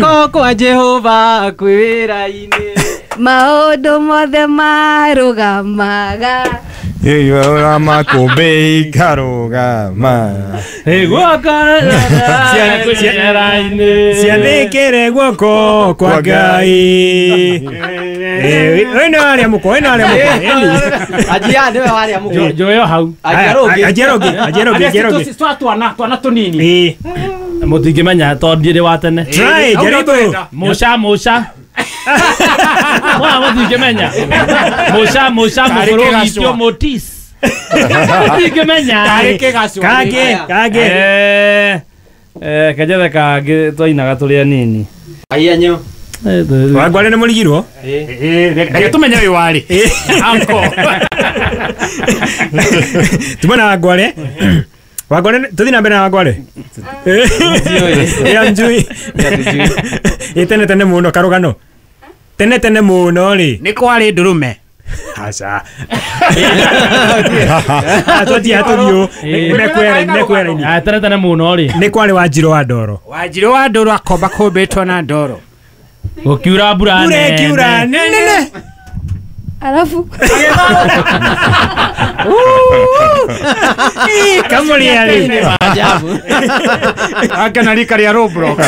Guoko kwa Jehova kwĩ wĩra-inĩ. Maũndũ mothe marũgamaga. Ĩyo makũmbĩ ikarũgama. Guoko Ciathĩkĩre guoko kwa Ngai. Ũyũ nĩ warĩa mũkwa, ũyũ nĩ warĩa mũkwa. Anjia nĩwe warĩa mũkwa. Njoyo hau. Anjia rũngĩ. Anjia rũngĩ, anjia rũngĩ, anjia rũngĩ. Twa twana, twana tũnini. Mũtingĩmenya tondũ ndirĩ wa tene. Try, jaribu. Mũca mũca. Mwana mũtingĩmenya. Mũca mũca mũkũrũ gitio mũtis. Mũtingĩmenya. Kangĩ, kangĩ. Kanjethe kangĩ twainaga tũrĩ anini. Aiya nyo. Wangware nĩ mũrigirwo? Reke tũmenye ũyũ warĩ. Uncle. Tuma na Wangware. Wangware, tũthiĩ na mbere na Wangware. Ĩ njui. Ĩ tene tene mũno karũgano. Tene tene mũno rĩ. Nĩ kwarĩ ndũrũme. Aca. Atũthiĩ atũthiũ. Nĩ Tene tene mũno rĩ. Nĩ kwarĩ Wanjirũ wa Ndoro. Wanjirũ wa Ndoro akomba kũmbĩtwo na ndoro. Gũkiura mbura nene. Mbura ĩkiura nene. Alafu Kamũrĩa rĩ. Maajabu. Akena rika rĩa Roblox.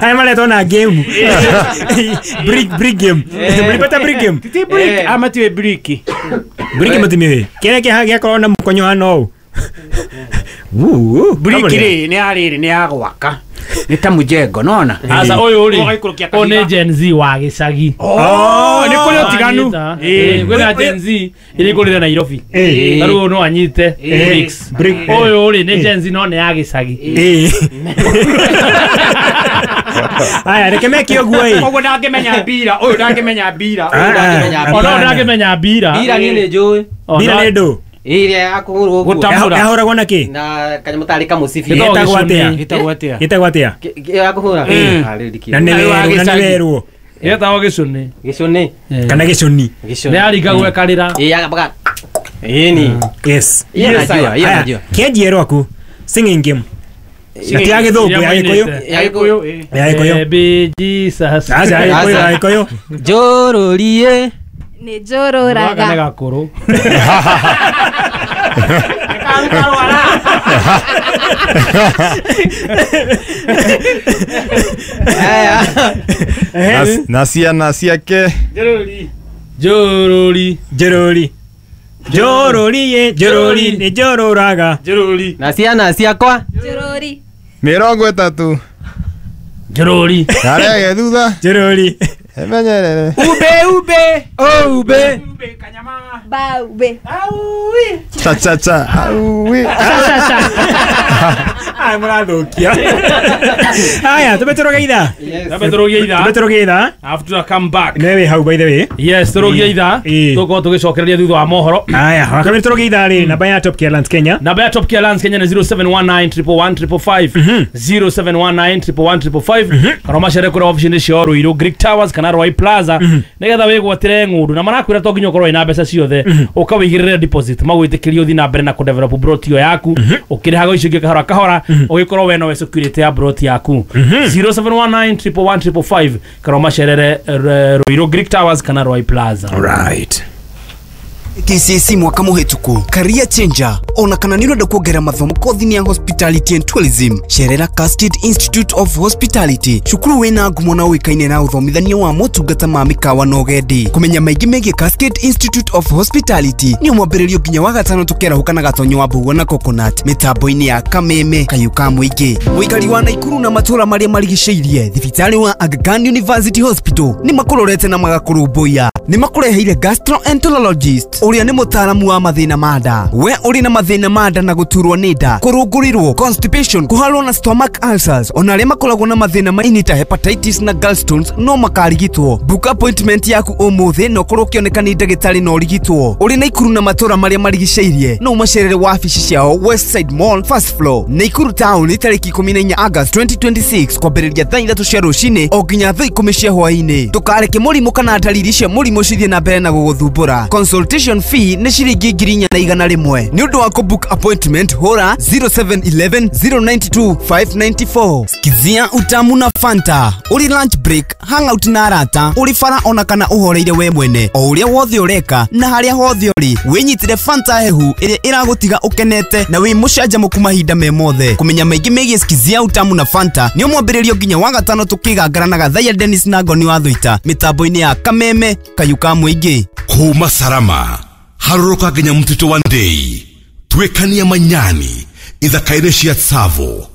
Haya maretwo na game. Brick brick game. Mlipata brick game? Ti brick ama ti brick. Brick mũtimĩũĩ. Kĩrĩa kĩha gĩakorwo na mũkonyo hana ũũ. Brick rĩ nĩ ya rĩrĩ nĩ ya gwaka. Nĩ ta mũjengo nona. Asa ũyũ rĩ ũyũ nĩ Gen Z wa gĩcagi. Oh, nĩ kũrĩ ũtiganu. Kwĩna Gen Z ĩrĩa ĩkũrĩre Nairobi. Ta rĩu no anyite bricks. Ũyũ rĩ nĩ Gen Z no nĩ ya gĩcagi. Aya reke meke ũguo ĩ. Koguo ndangĩmenya mbira, ũyũ ndangĩmenya mbira, ũyũ ndangĩmenya mbira. Ona ndangĩmenya mbira. Mbira niĩ nĩ njũĩ. Mbira nĩ ndũ. Ĩrĩa ya kũhũrwo ũguo. Yahũragwo na kĩ? Na kanyamũ tarĩ kamũcibi. Gĩtagwo atĩa? Gĩtagwo atĩa? Gĩtagwo atĩa? Ya kũhũra. Na nĩ werũ, na nĩ werũ. Gĩtagwo gĩcũnĩ. Gĩcũnĩ. Kana gĩcũni. Nĩ yaringagwo ĩkarĩra. Ĩ yagabaga. Ĩni. Yes. Iyo najua, iyo najua. Kĩanjie rwaku. Singing game. Na ti ya gĩthũngũ, ya gĩkũyũ. Ya gĩkũyũ. Ya gĩkũyũ. Baby Jesus. Aca, ya gĩkũyũ, ya gĩkũyũ. Njũrũrie. Nĩ njũrũraga. Nĩ gakũrũ. Na ciana ciake. Njũrũri. Njũrũri. Njũrũri, njũrũri, nĩ njũrũraga. Njũrũri. Na ciana ciakwa. Njũrũri. 30. Njũrũri. Arege thutha. Njũrũri. Emenyerere. Ube ube. Ube. Ube kanyama. Baube. Aui. Cha cha cha. Aui. Cha cha cha. Ai mũrathũkia. Aya, tũbe ithaa. Tũbe tũrũgie ithaa. Tũbe tũrũgie ithaa. After come back. Nĩwe wĩ hau by the way. Yes, tũrũgie ithaa. Tũkorwo tũgĩcokereria thutha wa mohoro. Aya, wakabiri tũrũgie ithaa rĩ, namba ya Top Care Lands Kenya. Namba ya Top Care Lands Kenya nĩ 0719111555. 0719111555. Kana ũmacere kũrĩa ofici-inĩ ciao Ruiru Greek Towers kana Roy Plaza nĩgetha wĩgwatĩre ng'ũndũ na marakwĩra to nginya ũkorwo wĩna mbeca ciothe ũkawĩigĩrĩre deposit magwĩtĩkĩrie ũthiĩ na mbere na kũdevelop broti ĩyo yaku ũkĩrĩhaga icio ingĩ kahora kahora ũgĩkorwo we nowe security ya broti yaku 0719111555 kana ũmacerere Ruiru Greek Towers kana Roy Plaza. Right. KCSE mwaka mũhĩtũku career changer ona kana nĩ ũrenda kuongerera mathomo kothi-inĩ ya hospitality and tourism cerera Cascade Institute of Hospitality cukuru wĩna ngumo na ũĩkaine na ũthomithania wa motungata ma mĩkawa na ũgendi kũmenya maingĩ megiĩ Cascade Institute of Hospitality nĩ mwambĩrĩrio nginya wa gatano tũkĩarahũka na gatonyo wa mbũguo na coconut mĩtambo-inĩ ya kameme kayũ ka mũingĩ mũikari wa Naikuru na matũra marĩa marigicĩirie thibitarĩ wa Aga Khan University Hospital nĩ makũrorete na magakũrũmbũiya nĩ makũreheire gastroenterologist ũrĩa nĩ mũtaaramu wa mathĩna ma nda we ũrĩ na mathĩna ma nda na gũturwo nĩ nda kũrũngũrĩrwo constipation kũharwo na stomach ulcers ona arĩa makoragwo na mathĩna ma ini ta hepatitis na gallstones no makarigitwo book appointment yaku ũmũthĩ na ũkorwo ũkĩoneka nĩ ndagĩtarĩ na ũrigitwo ũrĩ Naikuru na matũra marĩa marigicĩirie no ũmacerere wabici ciao Westside Mall first floor Naikuru town tarĩki 14 August 2026 kwambĩrĩria thaa 3 cia rũcinĩ o nginya thaa 10 cia hwaĩ-inĩ ndũkareke mũrimũ kana ndariri cia mũrimũ mĩrimũ cithiĩ na mbere na gũgũthumbũra. Consultation fee nĩ ciringi 4,100. Nĩ ũndũ wa kũbook appointment hũra 0711 092 594. Sikizia utamu na Fanta. Ũrĩ lunch break, hangout na arata, ũrĩ bara ona kana ũhoreire we mwene. O ũrĩa wothe ũreka na harĩa hothe ũrĩ, wĩnyitĩre Fanta hehu ĩrĩa ĩragũtiga ũkenete na wĩ mũcanjamũku mahinda me mothe. Kũmenya maingĩ megiĩ Sikizia utamu na Fanta nĩ mwambĩrĩrio nginya wa gatano tũkĩgangara na Gathaiya Dennis na Ngoni wa Thuita mĩtambo-inĩ ya Kameme Kayũ ka Mũingĩ. Kuma Sarama harũrũka nginya mũtitũ wa Ndei, tuĩkania Manyani, ithaka-inĩ cia Tsavo,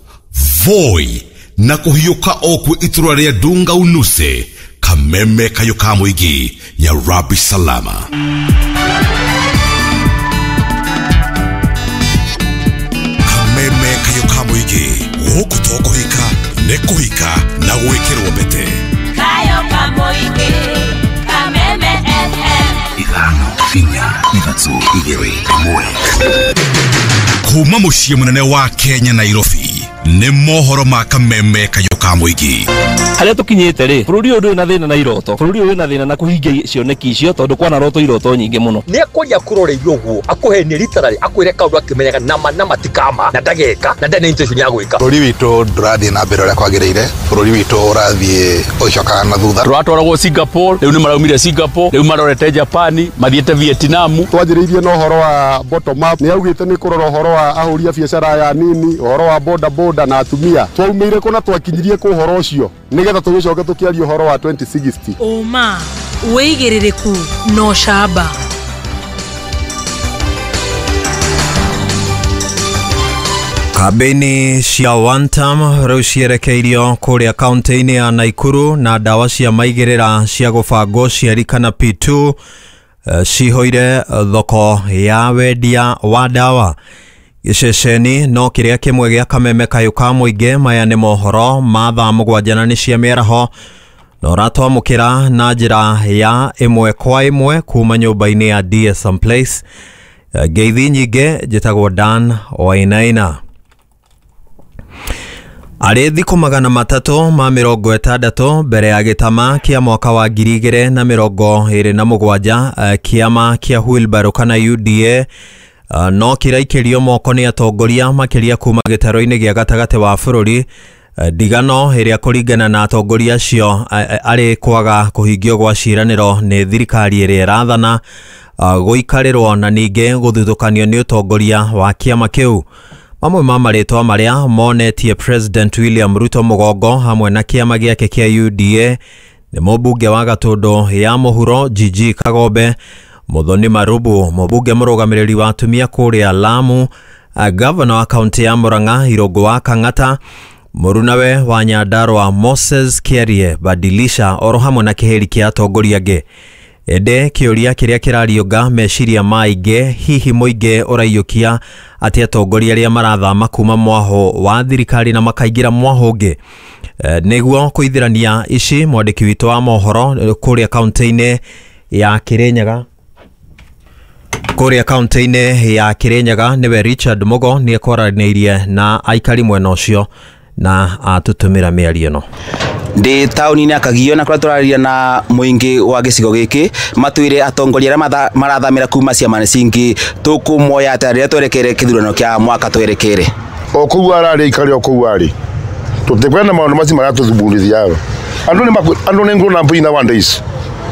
Voi na kũhiũka o kwĩ itũra rĩa Dunga Unuse. Kameme Kayũ ka Mũingĩ ya Rabi Salama. Kameme Kayũ ka Mũingĩ, gũkũ to kũhika nĩ kũhika na gwĩkĩrwo mbete. Kayũ ka Mũingĩ, Kameme FM. 5 4 3 2 1. Kuma mũciĩ mũnene wa Kenya Nairobi nĩ mohoro ma Kameme Kayũ ka Mũingĩ. Harĩa tũkinyĩte rĩ, bũrũri ũyũ ndũrĩ na thĩna na iroto, bũrũri ũyũ wĩna thĩna na kũhingia cioneki icio tondũ kwana roto iroto nyingĩ mũno. Nĩ akwaria kũroreirio ũguo akũhenie literally akwĩre kaũndũ akĩmenyaga nama na matikama na ndageka na ndarĩ na intention ya gwĩka. Bũrũri witũ ndũrathiĩ na mbere ũrĩa kwagĩrĩire, bũrũri witũ ũrathiĩ ũgĩcokaga na thutha. Tũratwaragwo Singapore, rĩu nĩ maraumire Singapore, rĩu marorete Japan, mathiĩte Vietnam. Twanjĩrĩirie na ũhoro wa bottom up, nĩ augĩte nĩ kũrora ũhoro wa ahũri a biacara aya nini, ũhoro wa boda boda na atumia. Twaumĩire kũ na twakinyirie kũ ũhoro ũcio nĩgetha tũgĩcoke tũkĩaria ũhoro wa 2060. Ũma, wĩigĩrĩrĩku na ũcamba. Kambĩini cia one term rĩu cierekeirio kũrĩa kaunti-inĩ ya Naikuru na ndawa cia maigĩrĩra cia gũbanga ũciari kana P2 ciihũire thoko ya wendia wa ndawa. Gĩceceni no kĩrĩa kĩmwe gĩa Kameme Kayũ ka Mũingĩ. Maya nĩ mohoro ma thaa 7 na nĩ cia mĩaraho na ũratwamũkĩra na njĩra ya 1 kwa 1 kuma nyũmba-inĩ ya DSM Place. Ngeithi nyingĩ, njĩtagwo Dan Wainaina. Arĩ thikũ 360 mbere ya gĩtama kĩa mwaka wa 2027 kĩama kĩa Wheelbarrow kana UDA no kĩraikĩrio moko nĩ atongoria makĩria kuma gĩtaro-inĩ gĩa gatagatĩ wa bũrũri. Ndigano ĩrĩa kũringana na atongoria acio arĩ kwaga kũhingio gwa ciĩranĩro nĩ thirikari ĩrĩa ĩrathana, gũikarĩrwo na ningĩ gũthutũkanio nĩ ũtongoria wa kĩama kĩu. Mamwe ma marĩtwa marĩa monetie President William Ruto mũgongo hamwe na kĩama gĩake kĩa UDA nĩ mũmbunge wa Gatũndũ ya Mũhuro Gigi Kagombe, Muthoni Marubu, mũmbunge mũrũgamĩrĩri wa atumia kũrĩa Lamu, gavana wa kaunti ya Murang'a Irũngũ wa Kang'ata, mũrunawe wa Nyandarua Moses Kiarie Badilisha, oro hamwe na kĩhĩri kĩa atongoria angĩ. Ĩndĩ kĩũria kĩrĩa kĩrariũnga meciria ma aingĩ, hihi mũingĩ ũraiyũkia atĩ atongoria arĩa marathama kuma mwaho wa thirikari na makaingĩra mwaho ũngĩ? Nĩguo kũithĩrania ici, mwandĩki witũ wa mohoro kũrĩa kaunti-inĩ ya Kirinyaga kũrĩa kaunti-inĩ ya Kirinyaga nĩwe Richard Mugo nĩ ekwaranĩirie na aikari mwena ũcio na atũtũmĩra mĩario ĩno. Ndĩ taũni-inĩ ya Kagio na kũrĩa tũrarĩria na mũingĩ wa gĩcigo gĩkĩ matwĩre atongoria arĩa marathamĩra kuma ciama cingĩ tũkũmoya atĩa rĩrĩa twerekeire kĩthurano kĩa mwaka twerekeire. O kũu ararĩ aikare o kũu arĩ, tũtikwenda maũndũ macio maratũthumburithia aba. Andũ nĩ grown up nowadays.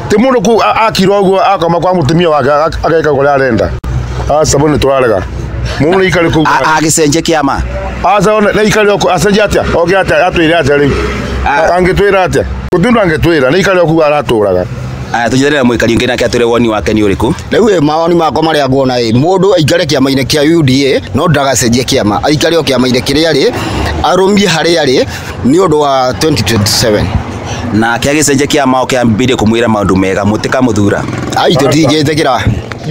Ti mũndũ kũu akira ũguo akoma kwa mũtumia wake ageka kũrĩa arenda. Aca bo nĩ tũrarega. Mũndũ nĩ aikare kũu. Agĩcenjia kĩama. Aca nĩ aikare o kũu acenjia atĩa? Oke atĩa atwĩre atĩa rĩu? Angĩtwĩra atĩa? Gũtirĩ ũndũ angĩtwĩra, nĩ aikare o kũu aratũraga. Aya tũnyitanĩre na mũikari ũngĩ nake atwĩre woni wake nĩ ũrĩkũ. Rĩu ĩ mawoni makwa marĩa nguona ĩ mũndũ aikare kĩama-inĩ kĩa UDA no ndagacenjie kĩama, aikare o kĩama-inĩ kĩrĩa arĩ, arũmie harĩa arĩ nĩ ũndũ wa 2027. Nake agĩcenjia kĩama oke ambĩrĩrie kũmwĩra maũndũ mega mũtikamũthura. Ai tũtingĩtĩkĩra.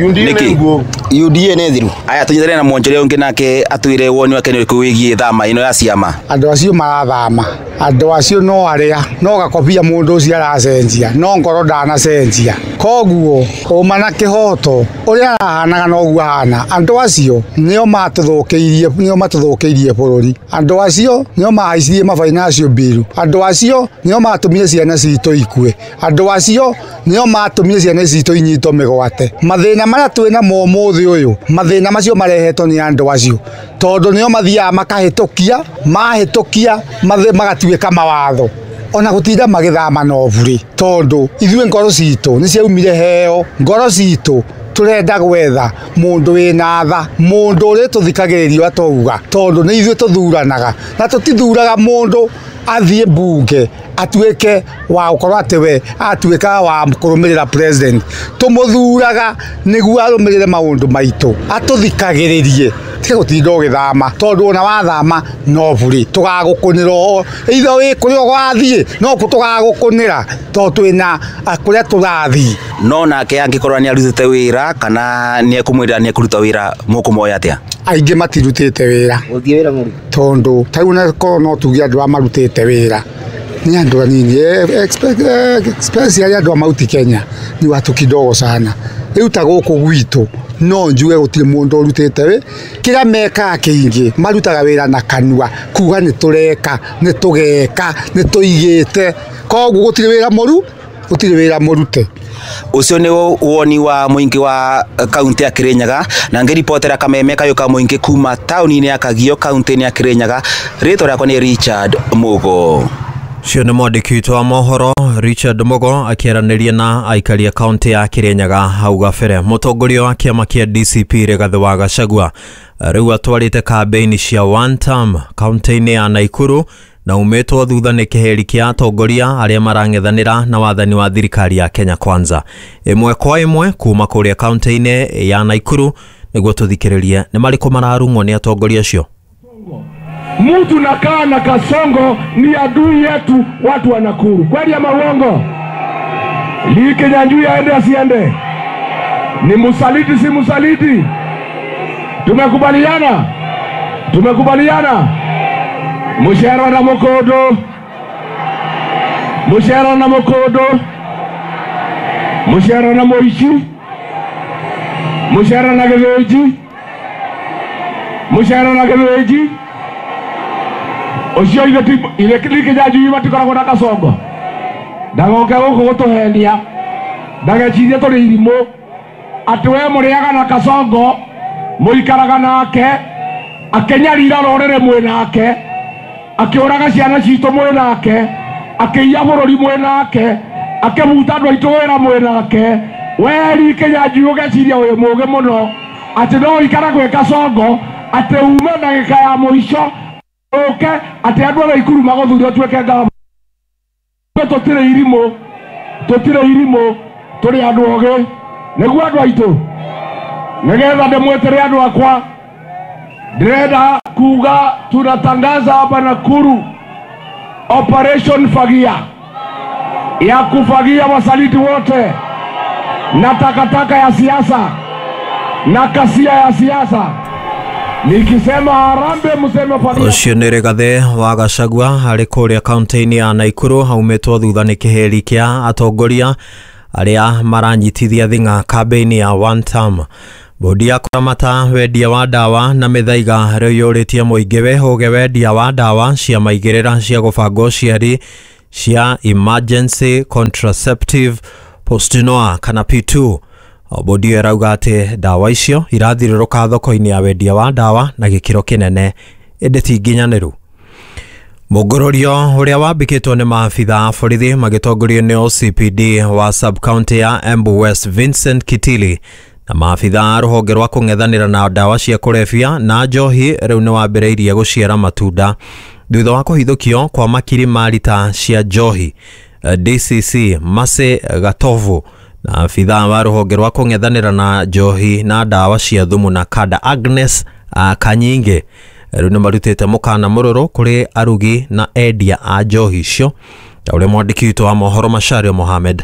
UDA nĩ nguo. UDA nĩ thiru. Aya tũnyitane na mwonjoria ũngĩ nake atwĩre woni wake nĩ ũrĩkũ wĩgiĩ thama ĩno ya ciama. Andũ acio marathama, andũ acio no arĩa no gakobia mũndũ ũcio aracenjia, no ngoro ndanacenjia. Koguo ũma na kĩhoto ũrĩa arahanaga noguo ahana. Andũ acio nĩo matũthũkĩirie, nĩo matũthũkĩirie bũrũri. Andũ acio nĩo mahaicirie ma financial bill. Andũ acio nĩo matũmire ciana citũ ikue. Andũ acio nĩo matũmire ciana citũ inyitwo mĩgwate. Mathĩna marĩa twĩ namo ũmũthĩ ũyũ, mathĩna macio marehetwo nĩ andũ acio, tondũ nĩo mathiaga makahĩtũkia, mahĩtũkia magatuĩka mawatho. Ona gũtinda magĩthama no bure, tondũ ithuĩ ngoro citũ nĩ ciaumire heo. Ngoro citũ tũrenda gwetha mũndũ wĩna tha, mũndũ ũrĩa tũthikagĩrĩrio atauga, tondũ nĩ ithuĩ tũthuranaga na tũtithuraga mũndũ athiĩ mbunge atuĩke wa gũkorwo atĩ we atuĩka wa kũrũmĩrĩra president. Tũmũthuraga nĩguo arũmĩrĩre maũndũ maitũ, atũthikagĩrĩrie. Tiga gũtinda ũgĩthama, tondũ ona wathama no bure tũgagũkũnĩra o either wĩ kũrĩa ũgathiĩ no kũ tũgagũkũnĩra, tondũ twĩna kũrĩa tũrathiĩ. No nake angĩkorwo nĩ arutĩte wĩra kana nĩ ekũmwĩra nĩ ekũruta wĩra, mũkũmoya atĩa? Aingĩ matirutĩte wĩra, tondũ ta rĩu onakorwo no tuge andũ arĩa marutĩte wĩra ni andũ anini, especially andũ a Mount Kenya ni watu kidogo sana. Rĩu ta gũkũ gwitũ no njuge gũtirĩ mũndũ ũrutĩte wĩ kĩrĩa mekaga kĩingĩ marutaga wĩra na kanua, kuga nĩ tũreka, nĩ tũgeka, nĩ tũigĩte. Koguo gũtirĩ wĩra mũru, gũtirĩ wĩra mũrute. Ũcio nĩ woni wa mũingĩ wa kaunti ya Kirinyaga, na ngĩribotera kameme kayũ ka mũingĩ kuma taũni-inĩ ya Kagio kaunti-inĩ ya Kirinyaga. Rĩtwa rĩakwa nĩ Richard Mugo. Ũcio nĩ mwandĩki witũ wa mohoro Richard Mugo akĩaranĩria na aikari a kaunti ya Kirinyaga hau gabere. Mũtongoria wa kĩama kĩa DCP Rigathĩ wa Gachagua rĩu atwarĩte kambĩini cia one term kaunti-inĩ ya Nakuru na umĩtwo thutha nĩ kĩheri kĩa atongoria arĩa marang'ethanĩra na wathani wa thirikari ya Kenya Kwanza. Ĩmwe kwa ĩmwe kuma kũrĩa kaunti-inĩ ya Nakuru nĩguo tũthikĩrĩrie nĩ marĩkũ mararung'wo nĩ atongoria acio. Mtu nakaa na Kasongo ni adui yetu watu wa Nakuru. Kweli ama uongo? Lee Kinyanjui aende asiende? Ni musaliti si musaliti? Tumekubaliana? Tumekubaliana? Mushera na Mukodo. Mushera na Mukodo. Mushera na Moichi. Mushera na Geveji. Mushera na Geveji. Ucio ithe Lee Kinyanjui matikoragwo na Kasongo. Ndagoke gũkũ gũtũhenia, ndagecirie tũrĩ irimũ atĩ we mũrĩaga na Kasongo, mũikaraga nake, akĩnyarira rũrĩrĩ mwĩ nake, akĩũraga ciana citũ mwĩ nake, akĩiya bũrũri mwĩ nake, akĩbuta andũ aitũ wĩra mwĩ nake. We Lee Kinyanjui ũgeciria wĩ mũũgĩ mũno atĩ no ũikare gwĩ Kasongo, atĩ ume ndagĩka ya mũico ũke atĩ andũ a Nakuru magũthure ũtuĩke ngavana. Tũtirĩ irimũ, tũtirĩ irimũ, tũrĩ andũ ogĩ. Nĩguo andũ aitũ, nĩgetha ndĩmwĩtĩre andũ akwa, ndĩrenda kuga tunatangaza hapa Nakuru Operation Fagia ya kufagia wasaliti wote na takataka ya siasa na kasia ya siasa. Nikisema harambee mseme fagia. Ũcio nĩ Rigathĩ wa Gachagua arĩ kũrĩa kaunti-inĩ ya Nakuru aumĩtwo thutha nĩ kĩheri kĩa atongoria arĩa maranyitithia thing'a kambĩini ya one term. Bodi ya kũramata wendia wa ndawa na mĩthaiga rĩu yũrĩtie mũingĩ wĩhũge wendia wa ndawa cia maigĩrĩra cia gũbanga ũciari cia emergency contraceptive Postinoa kana P2. Bodi ĩyo ĩrauga atĩ ndawa icio irathirũrũka thoko-inĩ ya wendia wa ndawa na gĩkĩro kĩnene ĩndĩ ti nginyanĩru. Mũngũrũrio ũrĩa wambĩkĩtwo nĩ maabitha a borithi magĩtongorio nĩ OCPD wa sub-county ya Embu West Vincent Kitili na maabitha a rũhonge rwa kũng'ethanĩra na ndawa cia kũrebia na njohi rĩu nĩ wambĩrĩirie gũciara matunda thutha wa kũhithũkio kwa makiri ma rita cia njohi. DCC Mase Gatovu na abitha wa rũhonge rwa kũng'ethanĩra na njohi na ndawa cia thumu na kada Agnes Kanyinge rĩu nĩ marutĩte mũkana mũrũrũ kũrĩ arugi na endia a njohi icio, ta ũrĩa mwandĩki witũ wa mohoro Macharia Mohamed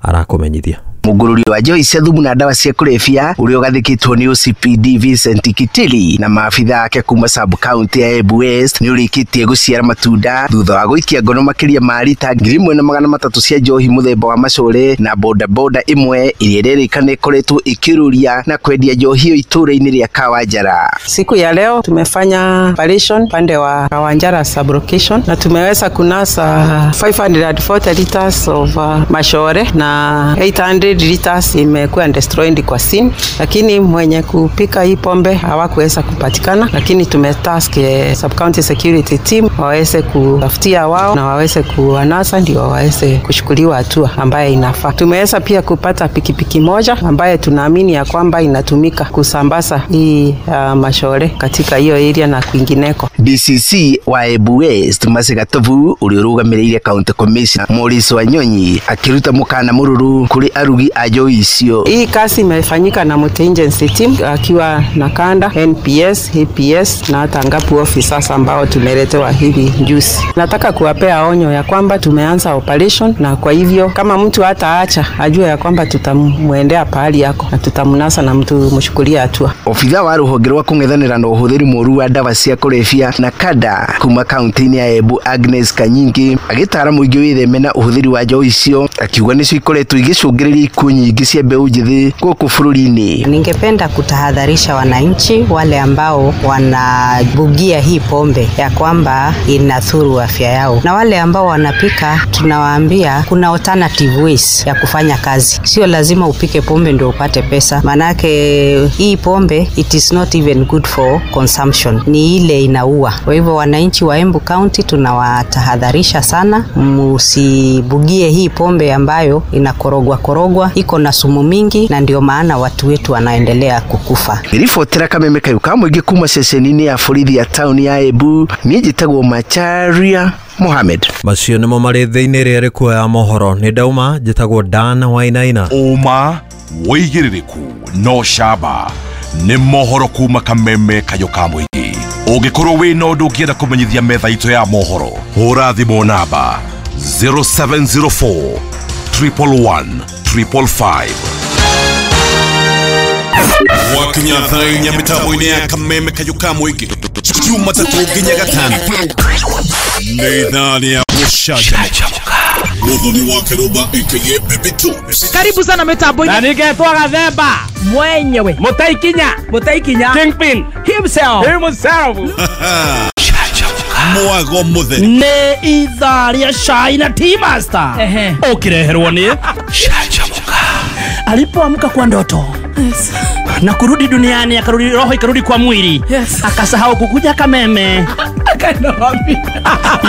arakũmenyithia. Mũgũrũri wa njohi cia thumu na ndawa cia kũrebia ũrĩa ũgathĩkĩtwo nĩ OCPD Vincent Kitili na maabitha ake kuma sub county ya Embu West nĩ ũrĩkĩtie gũciara matunda thutha wa gũikia ngono makĩria ma rita 1300 cia njohi mũthemba wa macore na bodaboda ĩmwe ĩrĩa ĩrerĩkana ĩkoretwo ĩkĩrũria na kwendia njohi ĩyo itũũra-inĩ rĩa Kawanjara. Siku ya leo tumefanya operation pande wa Kawanjara sub-location na tumeweza kunasa 540 liters of mashore na 800 liters imekuwa destroyed kwa scene, lakini mwenye kupika hii pombe hawakuweza kupatikana, lakini tumetask sub-county security team waweze kutafutia wao na waweze kuwanasa ndio waweze kuchukuliwa hatua ambaye inafaa. Tumeweza pia kupata pikipiki moja ambaye tunaamini ya kwamba inatumika kusambaza hii mashore katika hiyo area na kwingineko. DCC wa Embu West Mercy Gatovu ũrĩa ũrũgamĩrĩire County Commissioner Maurice Wanyonyi akĩruta mũkana mũrũrũ kũrĩ arugi a njohi icio. Hii kazi imefanyika na multi-agency team akiwa na kanda NPS, APS na hata ngapu officers ambao tumeletewa hivi juzi. Nataka kuwapea onyo ya kwamba tumeanza operation, na kwa hivyo kama mtu hataacha ajue ya kwamba tutamuendea pahali yako na tutamnasa na mtu mshukulia hatua. Obitha wa rũhonge rwa kũng'ethanĩra na ũhũthĩri mũũru wa ndawa cia kũrebia na kada kuma kaunti-inĩ ya Embu Agnes Kanyingi agĩtara mũingĩ wĩtheme na ũhũthĩri wa njohi icio, akiuga nĩcio ikoretwo igĩcũngĩrĩria ikuũ nyingĩ cia mbeũ njĩthĩ gũkũ bũrũri-inĩ. Ningependa kutahadharisha wananchi wale ambao wanabugia hii pombe ya kwamba inathuru afya yao, na wale ambao wanapika tunawaambia kuna alternative ways ya kufanya kazi. Sio lazima upike pombe ndio upate pesa, manake hii pombe it is not even good for consumption, ni ile inaua. Kwa hivyo wananchi wa Embu County tunawatahadharisha sana, msibugie hii pombe ambayo inakorogwa korogwa, iko na sumu mingi, na ndio maana watu wetu wanaendelea kukufa. Nilifotera kameme kayu ka mũingĩ kuma ceceni-inĩ ya borithi ya taũni ya Embu, niĩ njĩtagwo Macharia Mohamed. Macio nĩmo marĩ thĩinĩ rĩrĩa rĩkuoya mohoro. Nĩ ndauma, njĩtagwo Dan Wainaina. Ũma wĩigĩrĩrĩku no camba nĩ mohoro kuma kameme kayũ ka mũingĩ. Ũngĩkorwo wĩna ũndũ ũngĩenda kũmenyithia metha itũ ya mohoro, hũra thimũ namba 0704 111 555. Wakinya thaa inya mĩtambo-inĩ ya kameme kayũ ka mũingĩ Jumatatũ nginya Gatano nĩ ithaa rĩa gũcanjamũka. Muthoni wa Kĩrũmba aka Baby Tunes. Karibu sana mitambo-inĩ. Na ningetwo Gathemba mwenyewe, Mũtaikinya Kingpin himself. Mwago mũtheri nĩ ithaa rĩa cai na Tea Master ũkĩreherwo nĩ Canjamũka. Alipoamka kwa ndoto na kurudi duniani, akarudi roho ikarudi kwa mwili, akasahau kukuja Kameme. Akaenda wapi?